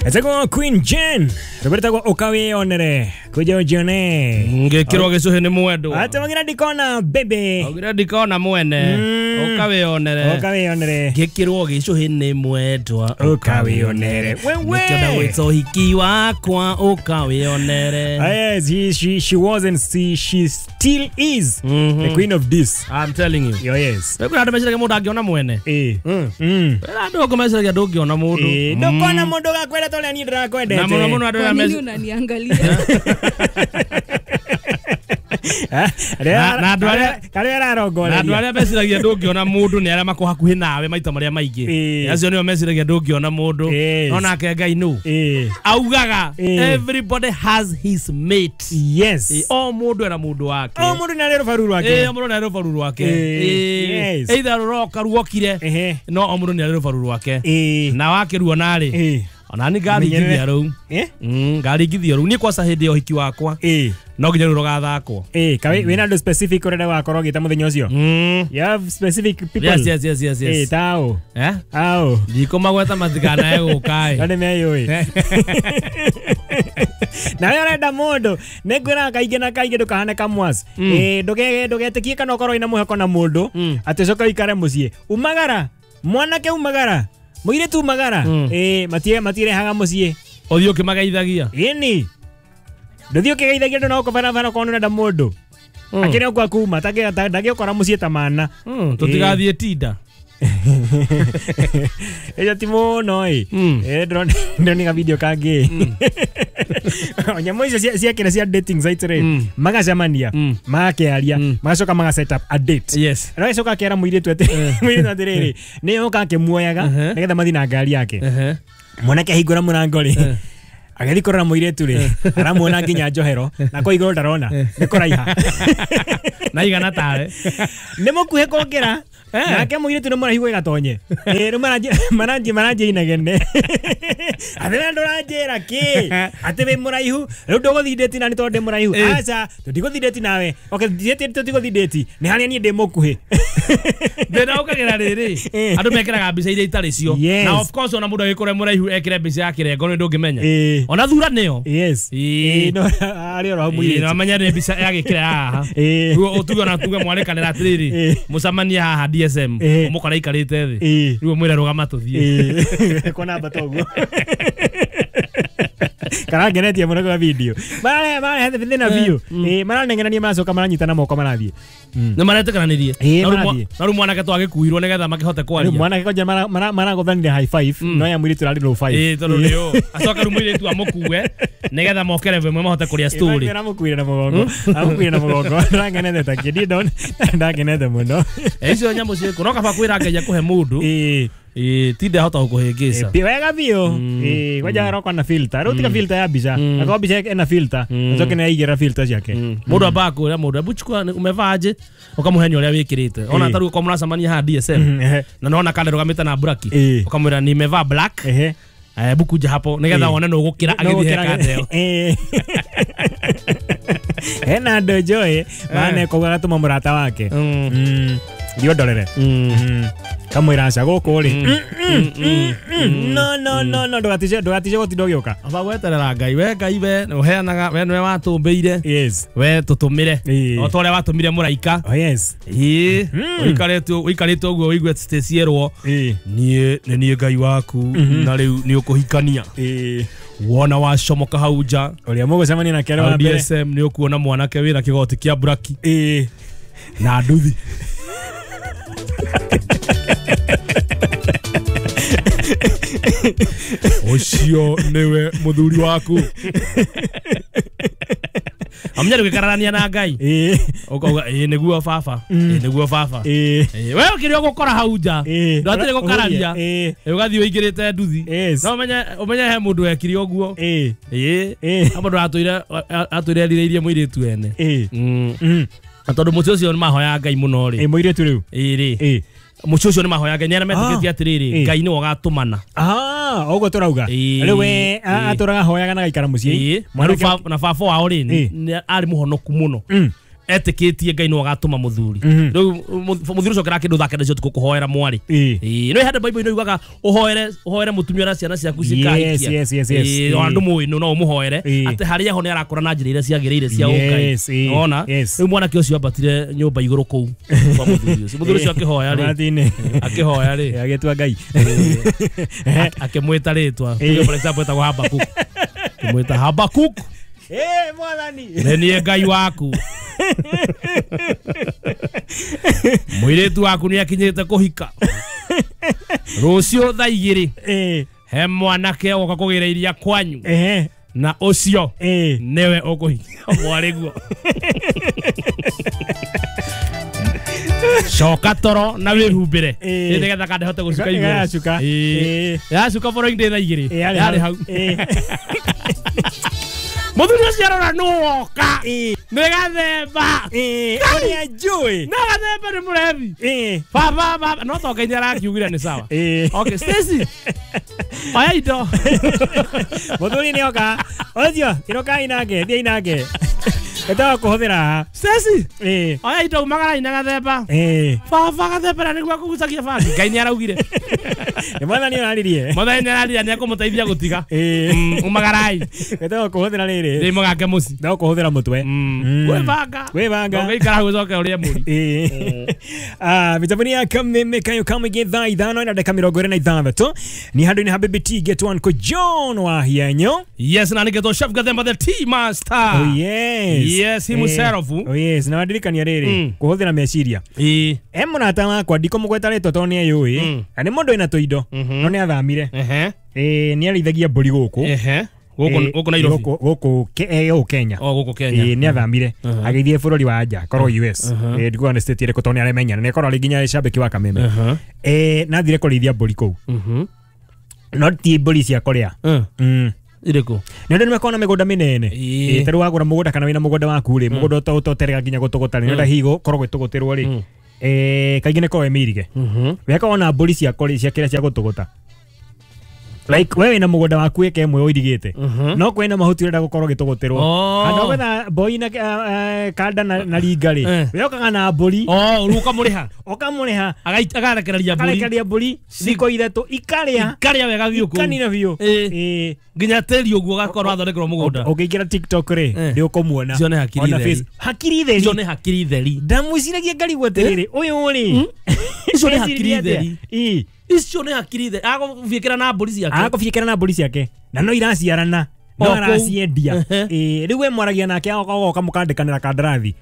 Etagwo Queen Jane rwĩtagwo ũkawĩonere kuja ujione Ngĩkĩrwo gĩcũhĩ nĩ mwendwa. Ate wagira ndikona baby Augire ndikona mwene. Ũkawĩonere. Ũkawĩonere. Ngĩkĩrwo gĩcũhĩ nĩ mwendwa. Ũkawĩonere. Wewe. Nĩkĩo ndagwĩta ũhiki wakwa ũkawĩonere. Yes, she was and she still is the queen of this. I'm telling you. Yo, yes. Kwĩna andũ meciragia mũndũ angĩona mwene. Kwĩna andũ angĩ meciragia ndũngĩona mũndũ. Ndũkona mũndũ gakwenda ta ũrĩa niĩ ndĩrakwendete. Na mũno mũno andũ Kwa arĩa nini unaniangalia? Na andũ arĩa karĩa ararongoreria. Na andũ arĩa meciragia ndũngĩona mũndũ nĩ arĩa mako hakuhĩ nawe maita marĩa maingĩ. Acio nĩo meciragia ndũngĩona mũndũ. No nake Ngai nũ. Augaga everybody has his mate. Yes. O mũndũ ena mũndũ wake. O mũndũ nĩ arĩ rũbaru rwake. O mũndũ nĩ arĩ rũbaru rwake. Either rũroka ruokire. No o mũndũ nĩ arĩ rũbaru rwake. Na wakĩruona rĩ. Ona ni ngaringithia rĩu. Ngaringithia rĩu. Niĩ kwaca hĩndĩ ya ũhiki wakwa. No nginya rĩu rũgathakwo. Kawe wĩna andũ specific ũrenda gũgakorwo ũgĩta mũthenya ũcio? You have specific people? Yes. Tao. Ao. Ndikũmagweta matikanae gũka ĩ. No nĩmeyũĩ. Nawe ũrenda mũndũ, nĩngwĩraga kaingĩ na kaingĩ ndũkahane kamwas. Ndũgetĩkie kana ũkorwo wĩna mwĩhoko na mũndũ, atĩ ũcoke ũikare mũciĩ. Umagara, mwanake umagara. Mũirĩtu umagara. Matirehaga mũciĩ. Ũthiĩ ũkĩmageithagia. Ĩni. Ndũthiĩ ũkĩgeithagia andũ na gũkũ barabara okorwo nĩũrenda mũndũ. Akĩrĩ o kwa kuma, ndangĩũkora mũciĩ ta mana. Tũtigathiĩ tinda. Ĩyo ti mũno ĩ. Ndĩronire video kangĩ. Nyamũ icio ciakĩra cia dating sites rĩ, magacemania, magakĩaria, magacoka maga set up a date. Yes. Agacoka akera mũirĩtu atĩrĩrĩ, nĩ oka akĩmuoyaga nĩgetha mathiĩ na ngari yake. Mwanake ahingũra mũrango rĩ, agĩthiĩ kũrora mũirĩtu rĩ, aramuona nginya njohero, na kwa igũrũ ndarona, nĩ kũraiha. Na igana tawe. Nĩ mũkuhĩ kũngĩra. Nake mũirĩtu nĩ mũraihu ĩgatonye. Rĩu maranjia inegene. Atĩ we ndũranjĩra kĩ? Atĩ wĩ mũraihu, rĩu ndũgũthiĩ date na nĩ tondũ ndĩ mũraihu. Aca, tũtigũthiĩ date nawe. Okay, tũtigũthiĩ date. Nĩ harĩa niĩ ndĩ mũkuhĩ. Thĩna ũkagĩra rĩrĩ, andũ mekĩraga mbica iria itarĩ cio. Na of course ona mũndũ agĩkorwo e mũraihu ekĩre mbica ya kĩrengo nĩ ndũngĩmenya. Ona thura nĩyo. Yes. No arĩ oro hau mũirĩtu. No menya nĩ mbica ya gĩkĩra haha. Rĩu tuge ona tuge mwarĩkanĩra atĩrĩrĩ, mũcemanie haha DSM, ũmũkora aikarĩte thĩ. Rĩu ũmwĩre rũgama tũthiĩ. Kwa namba toguo. Karangenetie mũno kwa video. Marehe thĩna biũ. Maranengerania maracoka maranyitana moko marathiĩ. Nĩ maretĩkananirie. Na rĩu mwanake twagĩkuirwo nĩgetha makĩhote kwaria. Rĩu mwanake kwanja maragũthanire high five, no ya mũirĩtu ararĩ low five. Tondũ nĩũ. Acoke rĩu mũirĩtu amũkue nĩgetha moke level ĩmwe mahote kũrĩa story. Aramũkuire na mũgongo. Aramũkuire na mũgongo. Ndakenete ta kĩndĩ ndakenete mũno. Icio nyamũ ciĩkũ. No kaba kwĩra Ngai akũhe mũndũ. Tinde hota gũkũhĩngĩca. Wega biũ. Kwanja aroka na filter. Rĩu tiga filter ya mbica. Akorwo mbica ĩna filter, acoke nĩ aigĩra filter ciake. Mũndũ ambaga kwĩra mũndũ, hebu chukua umevaa aje, ũkamũhe ũrĩa wĩkĩrĩte. Ona ta rĩu ũkorwo mũracemania haha DSM, na nĩwona kana ndũgamĩte na braki, ũkamwĩra nimevaa black, hebu kuja hapo nĩgetha wone nũ ũgũkĩra agĩthiĩ he kanda ĩyo. Hena andũ njũĩ maneka ũguo agatũma mũrata wake. Thiĩ ũndorere. Kamwĩra aca gũkũ rĩ. No no no no ndũgatice gũtinda ũgĩũka. Amba gweterera Ngai. We Ngai we ũheanaga, we nĩwe watũmbĩire. Yes. We tũtũmĩre. O ta ũrĩa watũmire mũraika. Oh yes. Ũikarĩte ũguo ũigue cierwo. Niĩ nĩ niĩ Ngai waku na rĩu nĩ ũkũhikania. Wona wacomoka hau nja. Ũrĩa mũgũcemania nake arĩ wa mbere. DSM nĩ ũkuona mwanake wĩna kĩgoti kĩa braki. Na nduthi. Ũcio nĩwe mũthuri waku. Amenya rĩu na Ngai. Ũkauga nĩguo baba. Nĩguo baba. We ũkĩrĩ ũgũkora hau nja. Ndwatirĩ gũkararia. Ũgathiĩ ũingĩrĩte nduthi. No ũmenye he mũndũ wekire ũguo. Mũndũ atũire erirĩirie mũirĩtu ene. Na tondũ mũciĩ ũcio nĩ mahoyaga Ngai mũno rĩ. Mũirĩtu rĩu. Rĩ. Mũciĩ ũcio nĩ mahoyaga Ngai, nĩ arĩa metĩkĩtie atĩrĩrĩ, Ngai nĩwe ũgatũmana. Ũguo tũrauga. Rĩu we atũraga hoyaga na gaikara mũciĩ. Na baba wao rĩ, arĩ mũhonoku mũno. Etĩkĩtie Ngai no agatũma mũthuri. Rĩu mũthuri ũcio kĩra kĩndũ thake nacio tukũ kũhoera mwarĩ. No hande Bible ino yugaga ũhoere mũtumia na ciana ciaku cikahikia. Yes, yes, yes. Andũ mũĩ no ũmũhoere atĩ harĩa ho nĩ arakũra na njĩra iria ciagĩrĩire cia ũngai. Ona rĩu mwanake ũcio ambatire nyũmba igũrũ kũu kwa mũthuri ũcio. Mũthuri ũcio akĩhoya rĩ. Akĩhoya rĩ. Agĩtua Ngai. Akĩmwĩta rĩtwa. Tuge for example etagwo Habakuk. Akĩmwĩta Habakuk. Mwathani. Nĩ niĩ Ngai waku. Mũirĩtu waku nĩ akinyĩte kũhika. Rũciũ thaa igĩrĩ. He mwanake oka kũgĩra iria kwanyu. Na ũcio nĩwe ũkũhikia mwarĩguo. Coka toro na wĩhumbĩre. Nĩgetha kandehote gũcuka igũrũ. Yacuka following day thaa igĩrĩ. Yarĩ hau. Mũthuri ũcio arora nũ woka. Nĩ gathemba. Ũrĩa njũĩ. Nĩ gathemba nĩ mũrebi. Baba baba no to Ngai nĩ arakiugire nĩ sawa. Okay, Stacy. Oya indo. Mũthuri nĩ oka. Ũcio kĩrokai nake, thiĩ nake. Etawa kũhũthĩra. Stacy. Oya indo umagarai na gathemba. Baba gathemba na nĩguo akũgucagia bangi. Ngai nĩ araugire. Nĩ mwathani araririe. Mwathani nĩ araririe nĩ akũmũteithia gũtiga. Umagarai. Etawa kũhũthĩra rĩrĩ. Ndĩ mũgake mũciĩ. No kũhũthĩra mũtwe. Kwĩbanga. Kwĩbanga. Ũngĩikara gũcoke ũrĩe mũri. Mĩtambo ya kameme kayo kamwe thaa ithano na dakika 26 ni handũ-inĩ ha Baby T get one ko John wa Hianyo. Yes, na nĩgetwo Chef Gathemba the Tea Master. Oh yes. Yes, himself. Oh yes, na wandirikania rĩrĩ kũhũthĩra meciria. Mũrata wakwa ndikũmũgweta rĩtwa tondũ nĩ eyũĩ. Na nĩ mũndũ wĩna tũindo no nĩ athamire. Nĩ arĩithagia mbũri gũkũ. Gũkũ Nairobi. Gũkũ Kenya. Gũkũ Kenya. Nĩ athamire. Agĩthiĩ bũrũri wa nja, korwo US. Ndikuga nĩ state ĩrĩkũ tondũ nĩ aremenya. Na nĩkorwo arĩ nginya cambĩki wa Kameme. Na athire kũrĩithia mbũri kũu. No ti mbũri cia kũrĩa. Irĩkũ? Nĩ ũndũ nĩmakoragwo na mĩgũnda mĩnene. Ta rĩu wagũra mũgũnda kana wĩna mũgũnda waku rĩ, mũgũnda ũtoterega nginya gũtũgũta rĩ, nĩ ũndũ hihi gũkorwo gwĩtũgũtĩrwo rĩ. Kaingĩ nĩ korwo ĩmĩirige. Wekaga ona mbũri cia kũrĩa cia kĩrĩa cia gũtũgũta. Like wewe na mũgũnda waku ĩka ĩmwe ũirigĩte. No kwĩna mahuti ũrenda gũkorwo gĩtũgũtĩrwo. Handũ gwetha mboi na kanda na ringa rĩ. We okaga na mbũri. Rĩu ũkamũrĩha. Ũkamũrĩha. Agarekereria mbũri. Akarekereria mbũri thikũ ithatũ ikarĩa. Ikarĩa wega biũ kũu. Ikanina biũ. Nginya tĩri ũguo ũgakorwo athondekerwo mũgũnda. Ũngĩingĩra TikTok rĩ, nĩ ũkũmuona. Icio nĩ hakiri theri. Hakiri theri. Icio nĩ hakiri theri. Ndamwĩciragia ngarigwo atĩrĩrĩ, ũyũ rĩ. Icio nĩ hakiri theri. Icio nĩ hakiri theri. Agũbiĩkĩra na mbũri ciake. Agũbiĩkĩra na mbũri ciake. Na no iraciarana. No araciendia. Rĩu we mwaragia nake agoka mũkandĩkanĩra kandarathi.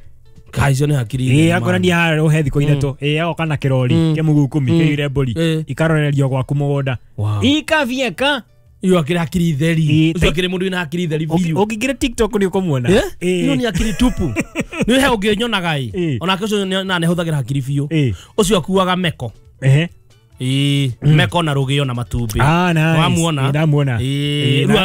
Kai icio nĩ hakiri theri. Akorania harĩa ũhe thikũ ithatũ. Agoka na kĩrori kĩmũguu kumi kĩiyũire mbũri. Ikarorerio gwaku mũgũnda. Ikabieka. Iyo akiri hakiri theri. Ucio akiri mundu wina hakiri theri biũ. Ũngĩingĩra TikTok nĩ ũkũmuona. Iyo nĩ hakiri tupu. Nĩ he ũngĩnyonaga ĩ. Onake ũcio na nĩ ahũthagĩra hakiri biũ. Ũcio akuaga meko. Meko na rũgĩo na matumbĩ. Wamuona? Ndamuona.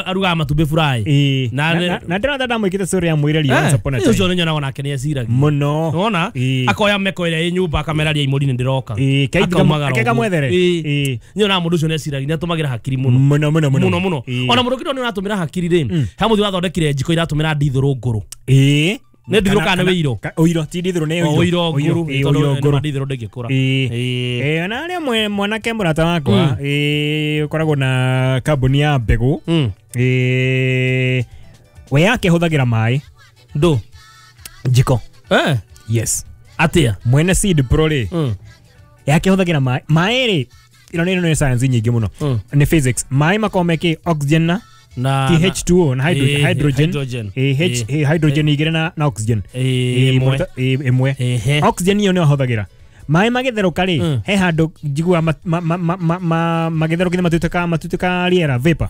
Arugaga matumbĩ fry. Na ndĩrona ndamwĩkĩte story ya mwĩreri once upon a time. Ũcio nĩ nyonaga onake nĩ eciragia. Mũno. Wona? Akoya meko ĩrĩa ĩ nyũmba akameraria imũri nĩ ndĩroka. Kamwethere. Nyonaga mũndũ ũcio nĩ eciragia, nĩ atũmagĩra hakiri mũno. Mũno mũno mũno. Mũno mũno. Ona mũndũ kĩndũ nĩ ũratũmĩra hakiri rĩ. He mũthuri wathondekire njiko iratũmĩra ndithũrũ ngũrũ. Nĩ ndithũrũ kana nĩ wĩiro? Ũiro, ti ndithũrũ nĩ ũiro. Ũiro ngũrũ, tondũ ndithũrũ ndĩngĩkũra. Na arĩa mwanake mũrata wakwa, ũkoragwo na kambuni ya mbegũ. We yake hũthagĩra maĩ. Ndũ? Njiko. Yes. Atĩa? Mwene Seed Pro rĩ. Yake hũthagĩra maĩ. Maĩ rĩ, ĩno nĩ science nyingĩ mũno. Nĩ physics. Maĩ makoragwo mekĩ oxygen na TH2O na hydrogen. Hydrogen igĩrĩ na oxygen. Ĩmwe. Oxygen iyo nĩyo ahũthagĩra. Maĩ magĩtherũka rĩ, he handũ njiguaga magĩtherũkithia matuĩkaga rĩera vapor.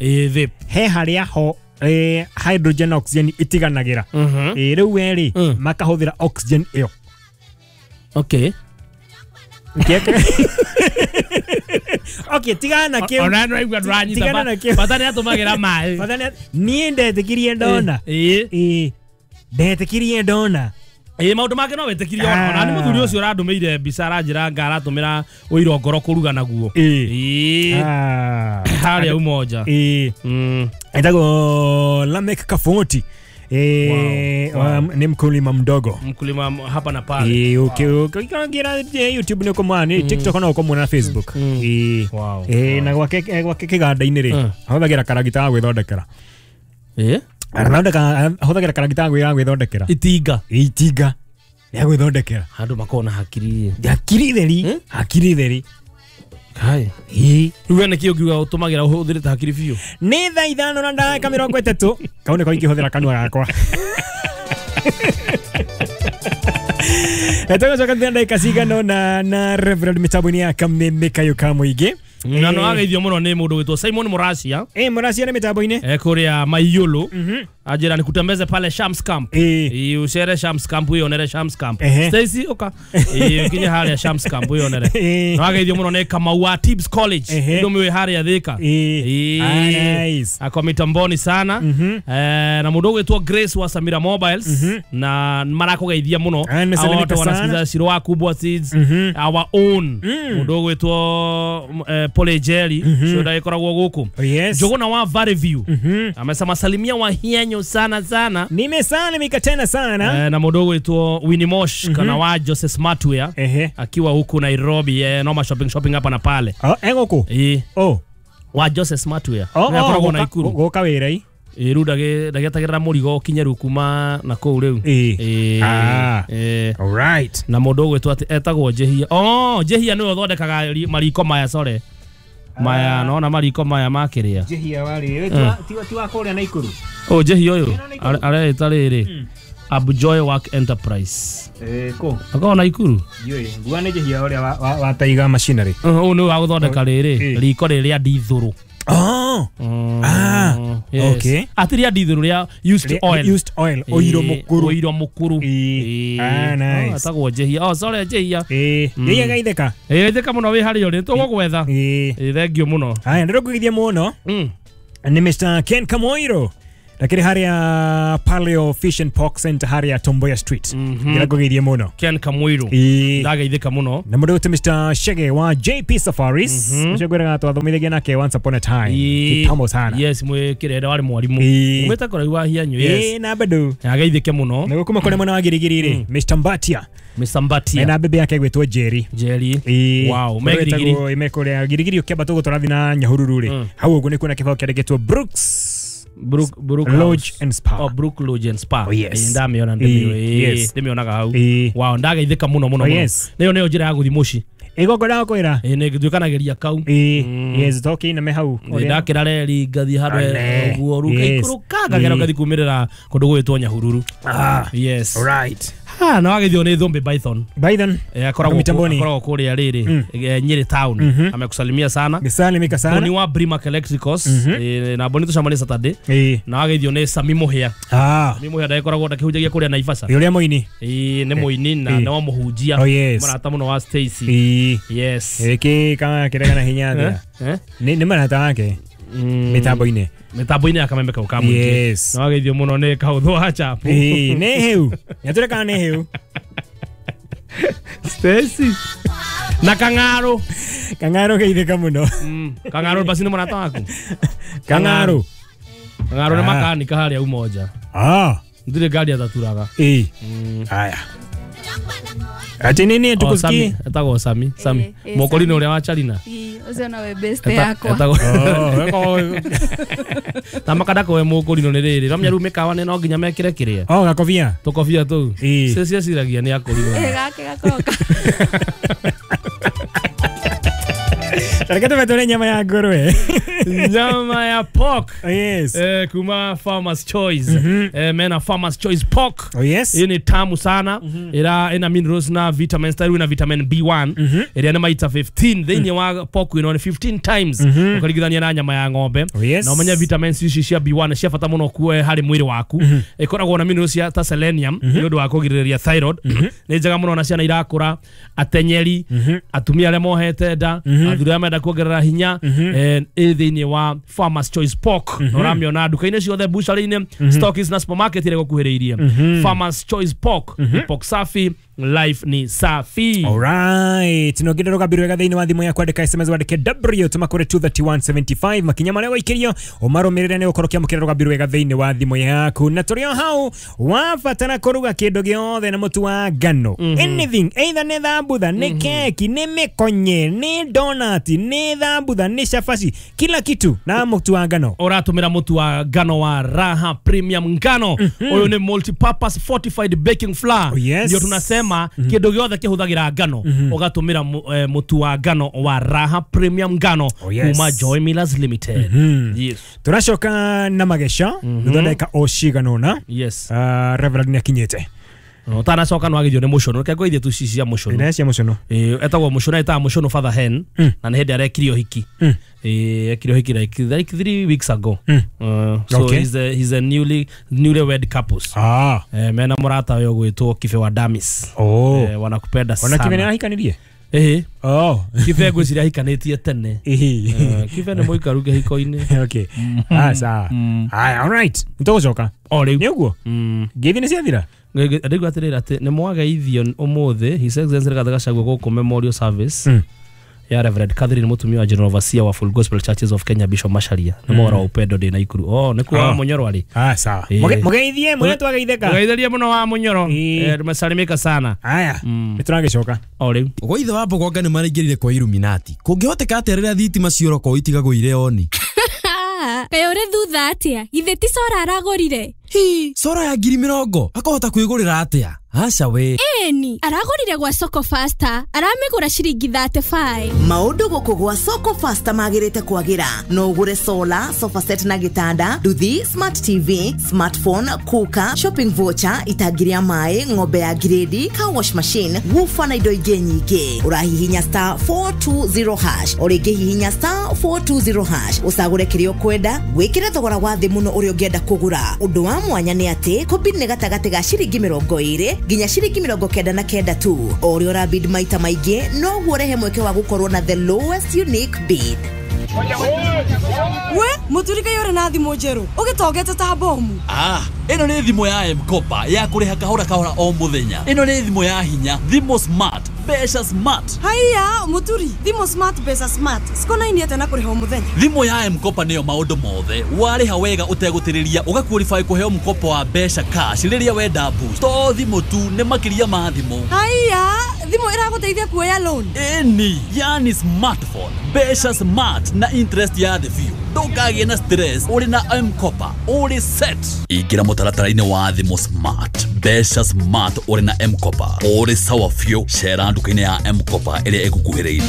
He harĩa ho hydrogen na oxygen itiganagĩra. Rĩu we rĩ, makahũthĩra oxygen ĩyo. Okay. Okay, tigana na kĩu. Ona no igua ndũranyita. Bata nĩ atũmagĩra maĩ. Bata nĩ niĩ ndetĩkirie ndona. Ndetĩkirie ndona. Maũndũ make no wĩtĩkirie ona nĩ mũthuri ũcio ũrandũmĩire mbica aranjĩra nga aratũmĩra ũiro ngoro kũruga naguo. Harĩa Umoja. Etagwo Lamek Kafoti. Ni mkulima mdogo. Mkulima hapa na pale. Ukiingia YouTube ni ukomwana, TikTok na ukomwana na Facebook. Wow. Na gwake kiganda-inĩ rĩ, ahũthagĩra karagita ga gwĩthondekera. Ahũthagĩra karagita ga gwĩthondekera. Itinga. Itinga rĩa gwĩthondekera. Andũ makoragwo na hakiri. Hakiri theri, hakiri theri. Kai. Rĩu we nĩkĩ ũngiuga ũtũmagĩra ũhũthĩrĩte hakiri biũ? Nĩ thaa 5 na ndagĩka 30. Kau nĩko ingĩhũthĩra kanua gakwa. Tũgũcoka thutha ndagĩka cigana ũna na Reverend mĩtambo-inĩ ya Kameme Kayũ ka Mũingĩ. Na no ageithio mũno nĩ mũndũ wĩtwo Simon Muracia. Muracia nĩ mĩtambo-inĩ. Kũrĩa Maiyũlũ. Ajira nikutembeze pale Shams Camp. Ucere Shams Camp wionere Shams Camp. Stacy oka. Ukinye harĩa Shams Camp wionere. No ageithio mũno nĩ Kamau wa Tibbs College. Ndomiwe harĩa Thika. Nice. Ako mitamboni sana. Na mũndũ ũgwĩtwo Grace wa Samira Mobiles na marakũgeithia mũno. Watu wanasikiza Shiro Kubwa Seeds our own. Mũndũ ũgwĩtwo Pole Jerry cio ndagĩkoragwo gũkũ. Njũgũna wa Valley View. Amesema salimia wa hienyo sana sana. Nimesalimika tena sana. Na mũndũ ũgwĩtwo Winnie Mosh kana wa Joseph Smartwear akiwa huku Nairobi, noma shopping hapa na pale. Egũkũ? Wa Joseph Smartwear. Akoragwo Naikuru. Gũka wĩra i. Rĩu ndagĩetagĩrĩra mũrigo ũkinye rĩu kuma na kũu rĩu. Alright. Na mũndũ ũgwĩtwo atĩ etagwo Njehia. Njehia nĩwe ũthondekaga mariko maya sore. Maya naona mariko maya makĩrĩa. Njehia warĩ ti wa kũrĩa Naikuru. Njehia ũyũ areĩta rĩrĩ Abjoy Work Enterprise. Kũ? Akoragwo Naikuru. Ndiũĩ. Nguga nĩ Njehia ũrĩa wa Taiga Machinery. Ũyũ nĩwe wa gũthondeka rĩrĩ riko rĩrĩa ndithũrũ. Yes. Okay. Atĩ rĩa ndithũrũ rĩa used oil. Used oil. Ũiro mũkũrũ. Ũiro mũkũrũ. Nice. Etagwo Njehia. Sorry Njehia. Njehia gaitheka. Gaitheka mũno wĩ harĩa ũrĩ. Tũgũgwetha. Thank you mũno. Haya, ndĩrokũgeithia mũno. Ni Mr. Ken Kamoiro. Lakini harĩa Paleo Fish and Pork Center harĩa Tomboya Street. Ndĩrakũgeithia mũno. Ken Kamoiro. Ndageithĩka mũno. Na mũndũ Mr. Shege wa JP Safaris. Ũcio ngwĩraga twathomithagia nake once upon a time. Kitambo sana. Yes, mwĩ kĩrenda warĩ mwarimũ. Mwĩta kũraihu wa Hianyu. Yes. Na bado. Ageithĩke mũno. Na gũkuma kũrĩa mwena wa Girigiri rĩ, Mr. Mbatia. Mr. Mbatia. Na bebe yake gwĩtwo Jerry. Jerry. Wow, me Girigiri. Me kũrĩa Girigiri ũkĩamba tũgũtũrathiĩ na Nyahururu rĩ. Hau ũguo nĩ kuona kĩbaũ kĩandĩkĩtwo Brooks Brook Lodge and Spa. Brook Lodge and Spa. Yes. Ndamĩona ndĩmĩonaga hau. Wow, ndageithĩka mũno mũno mũno. Nĩyo nĩyo njĩra ya gũthiĩ mũciĩ. Ĩgongona kwĩra. Nĩ nduĩkanagĩria kau. Yes, toki na me hau. Ndakĩra reri ngathiĩ handũ ũguo rĩu ngaikũrũka ngagera ngathiĩ kumĩrĩra kũndũ gũgwĩtwo Nyahururu. Yes. Alright. Na wageithio nĩ Thũmbĩ Python. Python. Akoragwo kũrĩa rĩrĩ Nyeri town. Amekusalimia sana. Nisalimika sana. Boni wa Brimac Electricals. Na Boni tũcemanie Saturday. Na wageithio nĩ Sami Mũhĩa. Sami Mũhĩa ndagĩkoragwo ndakĩhunjagia kũrĩa Naivasha. Ũrĩa mũini. Nĩ mũini na nĩ wa mũhunjia. Mũrata mũno wa Stacy. Yes. Ĩkĩ kana kĩrega na hinya atĩa. Nĩ marata wake. Mĩtambo-inĩ. Mĩtambo-inĩ ya Kameme Kau ka Mũingĩ. Yes. Na wageithio mũno nĩ Kaũthũ wa Chapu. Nĩ hĩu. Nĩatũre kana nĩ hĩu. Stacy. Na Kang'arũ. Kang'arũ geithĩka mũno. Kang'arũ basi nĩ mũrata waku. Kang'arũ. Kang'arũ nĩ makanika harĩa Umoja. Ndirĩ ngari ataturaga. Haya. Ati nini tukusikie? Etagwo Sami. Sami. Mokorino ũrĩa wa Charina. Ũcio nowe best yakwa. Etagwo. Ta makanda kowe mokorino nĩ rĩrĩ. Ramenya rĩu mĩkawa nĩ no nginya mekĩre kĩrĩa. Gakobia. Tũkobia tũu. Cio cieciragia nĩ akorino. Gake gakoka. Reke tũmetũre nyama ya ngũrwe. Nyama ya pork. Yes. Kuma Farmer's Choice. Mena Farmer's Choice pork. Yes. Hii ni tamu sana. Ira ina minerals na vitamins taru na vitamin B1. Ira na maita 15. Thĩinĩ wa pork ino ni 15 times. Ũkaringithania na nyama ya ng'ombe. Yes. Na ũmenye vitamins ici cia B1 cia bata mũno kue harĩ mwĩrĩ waku. Ĩkoragwo na minerals cia ta selenium nĩ ũndũ wa kũgirĩrĩria thyroid. Nĩ njega mũno na ciana irakũra, atenyeri, atumia arĩa mohete nda, athuri arĩa menda kuongerera hinya, ĩ thĩinĩ wa Farmer's Choice Pork. Na ũramĩona nduka-inĩ ciothe, butchery-inĩ, stockists na supermarket iria ĩgũkuhĩrĩirie. Farmer's Choice Pork ni pork safi Life ni safi. Alright, no ngä rå wega thä inä wa thimå ya kwandä SMS wandä W tå makå 23175 makinya marä a waikä å marå mä rä re nä gå korwo kä amå kä ra rå wega thä inä wa thimå yaku na tå rä o hau wabatara kå ruga kä ndå gä othe na må tu wa ngano anything either nä thambutha nä keki nä mä konye nä donati nä thambutha nä cabaci kila kitu na må tu wa ngano ũratũmĩra mũtu wa ngano wa Raha Premium ngano. Ũyũ nĩ multi-purpose fortified baking flour. Oh, yes. Ndio tunasema kĩndũ gĩothe kĩhũthagĩra ngano ũgatũmĩra mũtu wa ngano wa Raha Premium ngano. Oh, yes. Kuma Joy Millers Limited. Yes. Tũracoka na mageca thutha ndagĩka o cigana ũna. Yes. Reverend nĩ akinyĩte. Ũtanacoka no agithio nĩ mũcono reke ngũithie tu cici cia mũcono. Ĩna cia mũcono. Etagwo mũcono etaga mũcono Father Hen na nĩ hĩndĩ arekire ũhiki. Ekire ũhiki like 3 weeks ago. So Okay. he's a newly wed couples. Mena mũrata we ũgwĩtwo Kibe wa Damis. Oh. Wanakupenda Ona Kibe nĩ sana. arahikanirie? Oh. Kibe ngwĩciria ahikanĩtie tene. Kibe nĩ mũikaru kĩhiko-inĩ. Okay. Sawa. Haya, all right. Nĩtũgũcoka. O rĩu. Nĩ ũguo? Ngeithi nĩ ciathira? Rĩu atĩrĩrĩ atĩ nĩ mwageithio ũmũthĩ His Excellency Rigathĩ Gachagua gũkũ Memorial Service ya Reverend Catherine mũtumia wa General Overseer wa Full Gospel Churches of Kenya Bishop Macharia nĩ mohoro wa upendo ndĩ Naikuru. Oh, nĩ kuo wa Mũnyoro arĩ. Sawa. Mũgeithie mũrĩa twageithĩka. Mũgeithĩrie mũno wa Mũnyoro. Tumesalimika sana. Haya, nĩ tũragĩcoka. O rĩu. Gwa ithe wa Mbogonga nĩ maraingĩrire kwa Illuminati. Kũngĩhoteka atĩa rĩrĩa thitima ciora itigagwo irĩ oni? Kaĩ ũrĩ thutha atĩa? Githĩ ti cora aragũrire? Hi, cora ya 20,000 akahota kwĩgũrĩra atĩa? Aca we. Ĩni, aragũrire gwa Soko Faster, aramĩgũra ciringi 35. Maũndũ gũkũ gwa Soko Faster magĩrĩte kwagĩra. No ũgũre solar, sofa set na gĩtanda, nduthi, smart TV, smartphone, cooker, shopping voucher, itangi rĩa maĩ, ng'ombe ya grade, car wash machine, woofer na indo ingĩ nyingĩ. Ũrahihinya star 420 hash, o rĩngĩ hihinya star 420 hash, ũcagũre kĩrĩa ũkwenda, wĩkĩre thogora wa thĩ mũno ũrĩa ũngĩenda kũgũra. Ũndũ wa mwanya nĩ atĩ kũbid nĩ gatagatĩ ga ciringi 20 nginya ciringi 99 tu. O ũrĩa ũrabid maita maingĩ noguo ũrehe mweke wa gũkorwo na the lowest unique bid. We mũturi kaĩ ũrĩ na thimũ njerũ ũgĩtongete ta bomu. Ĩno nĩ thimũ ya M-Kopa ya kũrĩha kahora kahora o mũthenya. Ĩno nĩ thimũ ya hinya, thimũ smart, mbeca smart. Haiya mũturi, thimũ smart mbeca smart cikonainie atĩa na kũrĩha o mũthenya? Thimũ ya M-Kopa nĩyo maũndũ mothe. Warĩha wega ũtegũtĩrĩria ũgaqualify kũheo mkopo wa mbeca cash rĩrĩa wenda boost. To thimũ tu, nĩ makĩria ma thimũ. Haiya, thimũ ĩragũteithia kuoya loan. Ĩni, yani smartphone, mbeca smart na interest ya thĩ biũ. Ndũkagĩe na stress ũrĩ na M-Kopa, ũrĩ set. Ingĩra mũtaratara-inĩ wa thimũ smart, mbeca smart ũrĩ na M-Kopa, ũrĩ sawa biũ. Cera nduka-inĩ ya M-Kopa ĩrĩa ĩgũkuhĩrĩirie.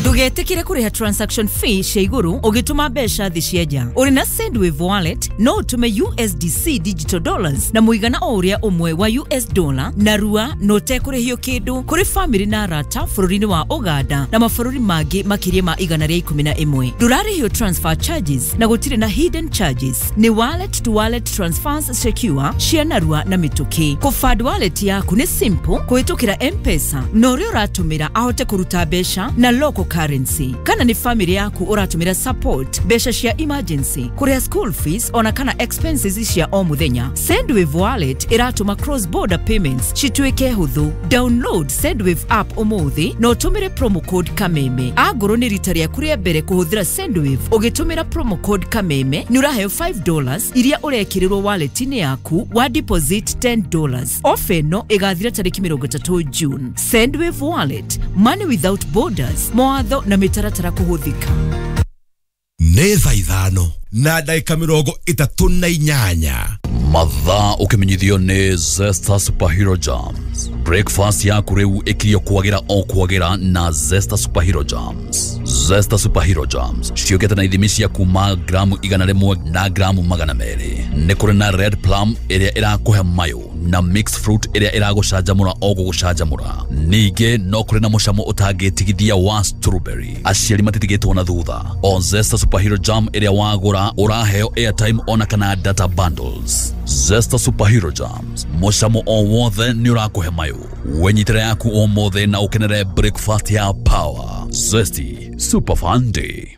Ndũgetĩkĩre kũrĩha transaction fee cia igũrũ ũgĩtũma mbeca thĩ cia nja. Ũrĩ na Sendwave wallet no ũtũme USDC digital dollars na mũigana o ũrĩa ũmwe wa US dollar na rua na ũtekũrĩhio kĩndũ kũrĩ famĩlĩ na arata bũrũri-inĩ wa Uganda na mabũrũri mangĩ makĩria ma 111. Ndũrarĩhio transfer charges na gũtirĩ na hidden charges. Nĩ wallet to wallet transfers secure cia narua na mĩtũkĩ. Kũfund wallet yaku nĩ simple kũhĩtũkĩra M-Pesa na ũrĩa ũratũmĩra ahote kũruta mbeca na local currency. Kana nĩ family yaku ũratũmĩra support mbeca cia emergency, kũrĩha school fees ona kana expenses cia o mũthenya. Sendwave wallet ĩratũma cross border payments cituĩke hũthũ. Download Sendwave app ũmũthĩ na ũtũmĩre promo code Kameme. Angorwo nĩ rita rĩaku rĩa mbere kũhũthĩra Sendwave ũgĩtũmĩra promo code Kameme nĩ ũraheo $5 iria ũrekĩrĩrwo wallet-inĩ yaku wa deposit $10. Ofa ĩno ĩgathira tarĩki 30 June. Sendwave wallet, money without borders. Mawatho na mĩtaratara kũhũthĩka. Nĩ thaa 5 na ndagĩka 38. Mathaa ũkĩmenyithio nĩ Zesta Superhero Jams. Breakfast yaku rĩu ĩkirio kwagĩra o kwagĩra na Zesta Superhero Jams. Zesta Superhero Jams ciũkĩte na ithimi cia kuma gramu 100 na gramu 200. Nĩ kũrĩ na red plum ĩrĩa ĩrakũhe mayũ na mixed fruit ĩrĩa ĩragũcanjamũra o gũgũcanjamũra. Ningĩ no kũrĩ na mũcamo ũtangĩtigithia wa strawberry. Aciari matitigĩtwo na thutha. O Zesta Superhero Jam ĩrĩa wagũra ũraheo airtime ona kana data bundles. Zesta Superhero Jams, mũcamo o wothe nĩ ũrakũhe mayũ. Wenyitĩra yaku ũmũthĩ na ũkenere breakfast ya power. Zesty Super Fun Day.